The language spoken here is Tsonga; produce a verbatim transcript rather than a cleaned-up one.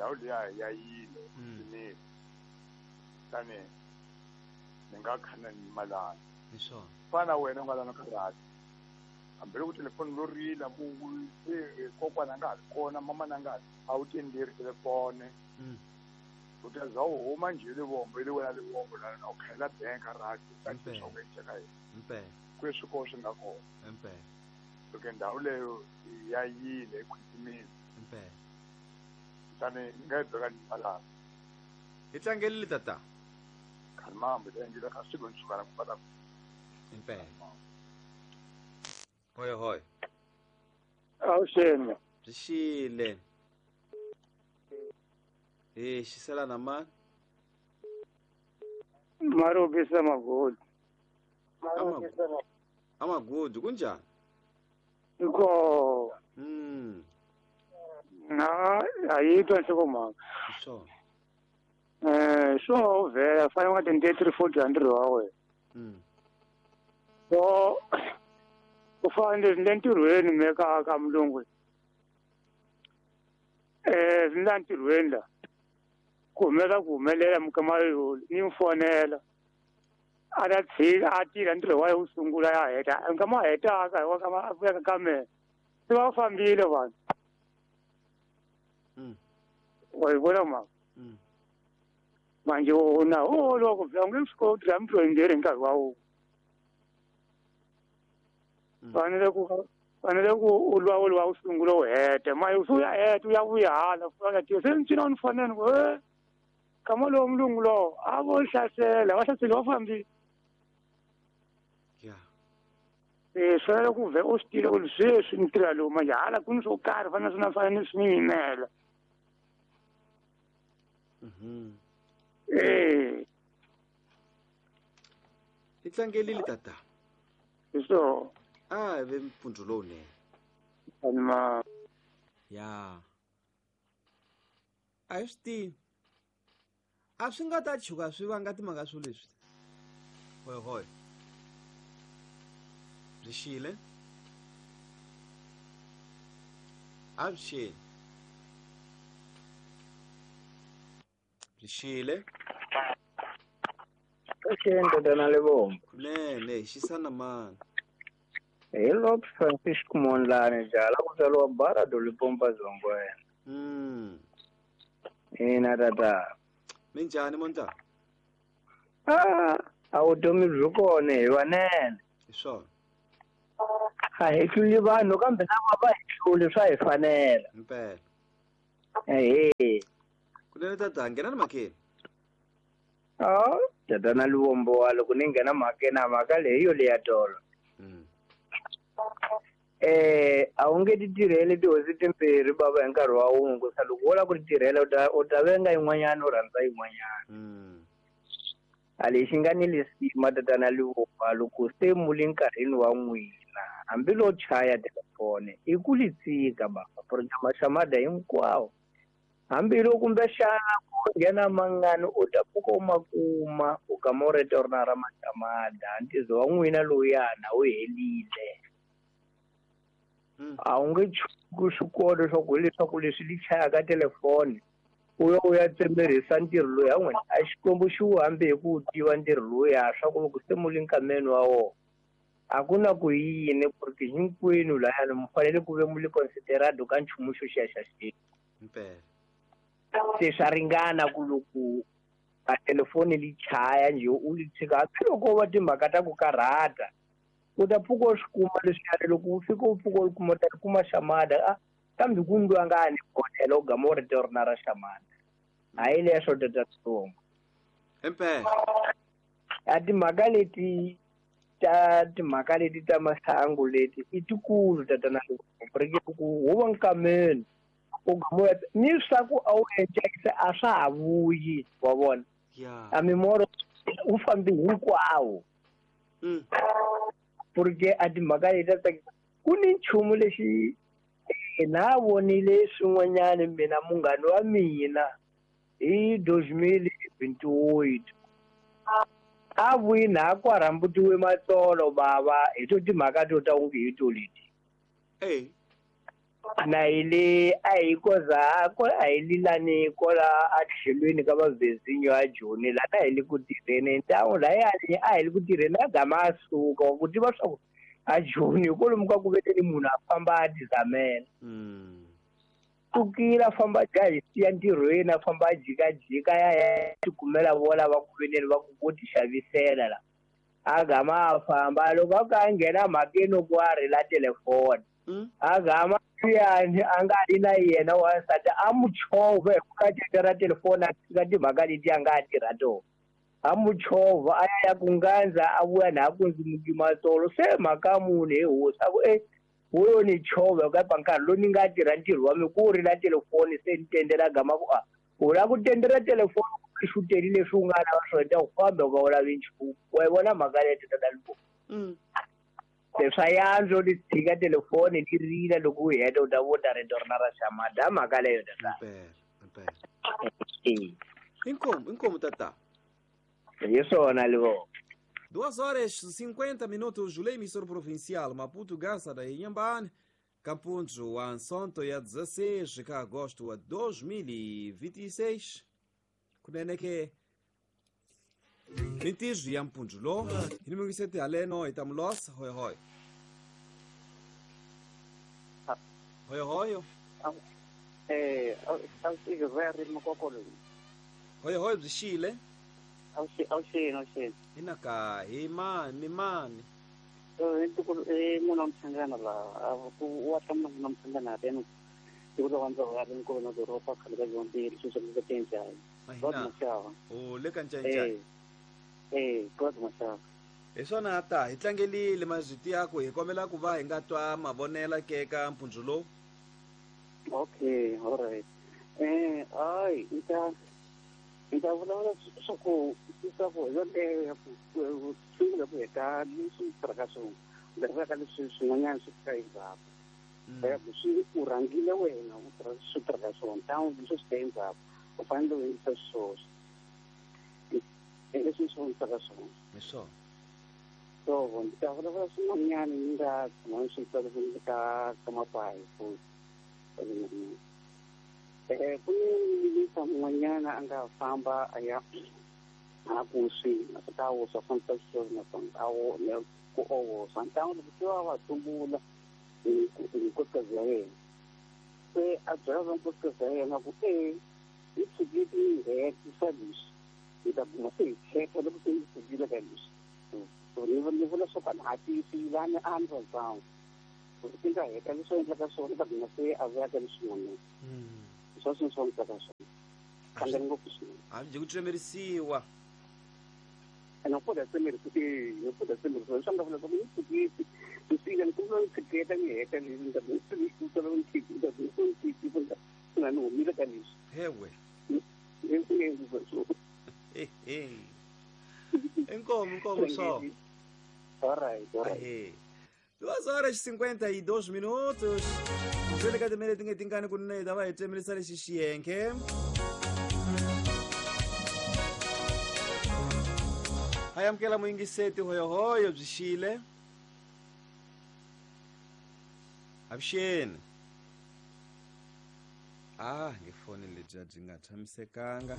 Ndhawu liya ya yile swinene. Tani ni nga khana ni malana. Hi swona. Fana wena u nga lana karate. Hambi loko telefoni lo rila ku kokwana nga ha ri kona mama na nga a wu tenderi telefoni. U ta za u huma njhe Livombo ile wena Livombo la u khayela bank rate ta swa ku endleka yini. Impela. Ku swi ko swi nga kona. Impela. Loko ndhawu leyo ya yile ekhwitimini. Impela. Tani ni nga yi beka ni malana. Hi tlangelile tata. Khalimambo ta endlela ka siku ni suka na ku pata. Impela. Hoi hoi. Awuxeni. Byi xile. Eh, xisela na mani? Marobisa Magodi. Amagodi kunjani? Iko. Mm. Na ayitwa nhlokomhaka. Swona. Eh, so vhela fanele u nga twenty three forty hundred wa wena. Mm. So ku fanele ni le ntirhweni me ka ka mulungu. Eh, ni la ntirhweni la. Ku humelela ku humelela mikama yo ni n'wi fonela. A ta tshika a tirha ntirho wa yena wu sungula ya heta. Nkama a hetaka hi wa kama a vuya ka mina. Se va fambile vanhu. Mm. Wa yi vona mhaka? Mm. Manje wona o loko vula nge swi koti la mintirho yimbirhi hi nkarhi wa wun'we. Fanele ku fanele ku u lwa u lwa u sungula u heta manje u ya heta u ya vuya hala u ya se ni cina ni fonela ku e kama lowo mulungu lowo a vo hlasela va hlaseli va fambile. Yeah. Eh, fanele ku vhe u swi tiva ku sweswi ni tirha lowu manje hala ku ni swo karhi fanele swi na fanele swi ni yimela. Mhm. Eh. Hi tlangelile tata. Hi swona. A ve mpfundzu lowunene. Ma. Ya. A hi swi tivi. A swi nga ta chuka swi vanga timhaka swo leswi. Hoi hoi. Byi xile. A byi xile. Byi xile. Xile tatana Livombo. Kunene hi xisana mani. Hi Lop Francisco Mondlane jala ku tswariwa bara do Lipompa Zongwena. Mm. Ina tata. Minjhani Mondlane? Ah, a vutomi byi kona hi vanene. Hi swona. A hi hluli vanhu kambe lava va hi hluli swa hi fanela. Impela. Ehe. Kunene tata nghena ni mhakeni. Ah, tatana Livombo wa loko ni nghena mhakeni a mhaka leyi yo leya tolo. Mm. Eh, a wu nge ti tirheli tihosi timbirhi bava hi nkarhi wa wun'we ku sa loko wo lava ku ti tirhela u ta u ta venga yin'wanyana u rhandza yin'wanyana. Mm. A lexi nga ni lisima tatana Livombo loko se mu le nkarhini wa n'wina hambi lo chaya telefoni i ku li tshika baba porque maxamada hinkwawo hambi loko kumbexana ku nghena mangani u ta pfuka u ma kuma u kama u rito rona ra maxamada ntizo wa n'wina lowuyana wu helile. A wu nge chuki swikolo swa ku leswaku leswi li chayaka telefoni u ya u ya tsemerisa ntirho lowu ya n'wina a Xikwembu xi wu hambi hi ku wu tiva ntirho lowuya swa ku loko se mu le nkameni wa wona a ku na ku yini porque hinkwenu layani mi fanele ku ve mu le considerado ka nchumu xo xiya xa xi. Impela. Se swa ringana ku loko a telefoni li chaya njhe u li tshika hambiloko va timhaka ta ku karhata u ta pfuka u swi kuma leswiyani loko u fika u pfuka u kuma u ta kuma xamada a kambe ku ndwangani bodela u gama u rito rona ra xamada hayi leswo tata Livombo. Impela. A timhaka leti ta timhaka leti ta masangu leti i tikulu tatana Livombo porque ku huva nkameni u gama u ni swa ku a wu encakisa a swa ha vuyi wa vona. Yeah. A mimoro wu fambi hinkwawo. Mm. Porque a timhaka leti ta tsakisa ku ni nchumu lexi na vonile swin'wanyana mina munghana wa mina hi dois mil vinte oito a vuyi na ku rhambutiwe matsolo bava hi to timhaka to ta unge hi to leti. Eh. Na hi le a hi koza ko a hi lilani kola a tlhelweni ka vavezinyo a Joni la na hi le ku tirheni ntawu layani a hi le ku tirheni a gama a suka ku tiva swa ku a Joni kwalomu ka ku veteni munhu a famba a tizamela. Sukile a famba a dya hi siya ntirhweni a famba a jikajika ya ya tikumela vo lava ku veneni va ku vo ti xavisela la. A gama a famba loko a ka a nghena mhakeni ku a rila telefoni. A gama yani a nga ri na yena wansati a mu chovha hi ku ka teka ra telefoni a tshika timhaka leti a nga tirha tona. A mu chovha a ya ya ku ngandza a vuya na ku ndzi mukima tolo se mhaka munhu he hosi a ku e wo yo ni chovha ka pa nkarhi lowu ni nga tirha ntirho wa mina ku rila telefoni se ni tendela gama ku a u lava ku tendela telefoni ku xuteli leswi u nga lava swona ta ku famba u nga u lavi nchumu wa yi vona mhaka leyi tata Libo. Leswa yandzo li tshika telefoni li rila loko u heta u ta vona rito rina ra Xamada mhaka leyo tata. Impela, impela. Inkomo, inkomo tata. Hi swona Libo. Duas horas e cinquenta minutos, Lei emissor provincial Maputo Gaza da Inhambane, Campunjo, Ansonto ya dezesseis de agosto de dois mil e vinte e seis. Kunene ke Mintijo ya Mpunjulo, inimungisete aleno itamlos, hoi hoi. Hoi hoi. Eh, Hoi hoi bzishile. Awusheni awusheni. Inaka imani mani. Eh eh muna mchangana la ku wa tamna muna mchangana tena. Tikuza kwanza wa nko na doropa khale yonke leswi swi nga Ahina. O le ka nchanchani. Eh eh God mashava. Hi swona ta hi tlangelile mazwiti yako hi kombela ku va hi nga twa mavonela ke ka mpundzu lowu. Okay, all right. Eh ai nta nta vulavula swa ku swa ku yoleyo ku sungula ku heta leswi tirhaka swona leriveka ka leswi swin'wanyana swi fika endzhaku. Ya ku swi u rhangile wena u tirha swi tirhaka swona tawun leswi swi ta endzhaku u fanele u endlisa swoswo leswi swi vonisa swona. Hi swona. So ndzi ta vulavula swin'wanyana ni nga tshama ni swi twa loko ni ka ka mapayi futhi. Eh ku ni minista un'wanyana a nga famba a ya a ku swi a ta woswa fambisa swona naswona a wo ku owoswa ntangu loko se va va tumbula hi nkosikazi ya yena se a byela va nkosikazi ya yena ku e hi tshikile ni hetisa leswi hi ta kuma se hi khetha loko se hi tshikile ka leswi so ni ni vula swo ka ni hatisi lani a ni rhandzanga loko ti nga heta leswi endlaka swona ta kuma se a vuya ka leswin'wanyana swa swona swa ndzi swona kangani ngopfu swinene. A byi ku tsemerisiwa. Ene ku da tsemerisiwa eh ku da tsemerisiwa swa nga vula ku ni tshikile ni sile ni kuma ni tshiketa ni heta ni ni ni ni ni tshikile ni ni tshikile ni ni humile ka leswi. Hewe. Ni ni ni Eh eh. Inkomo inkomo só. All right, all right. Eh. Duas horas e cinquenta e dois minutos. Vele ka timele tinge tingani kunene ta va hi tsemerisa lexi xiyenke. Hi amukela muyingiseti hoyohoyo byi xile. Avuxeni. Ah, ngefoni lebyi byi nga tshamisekanga.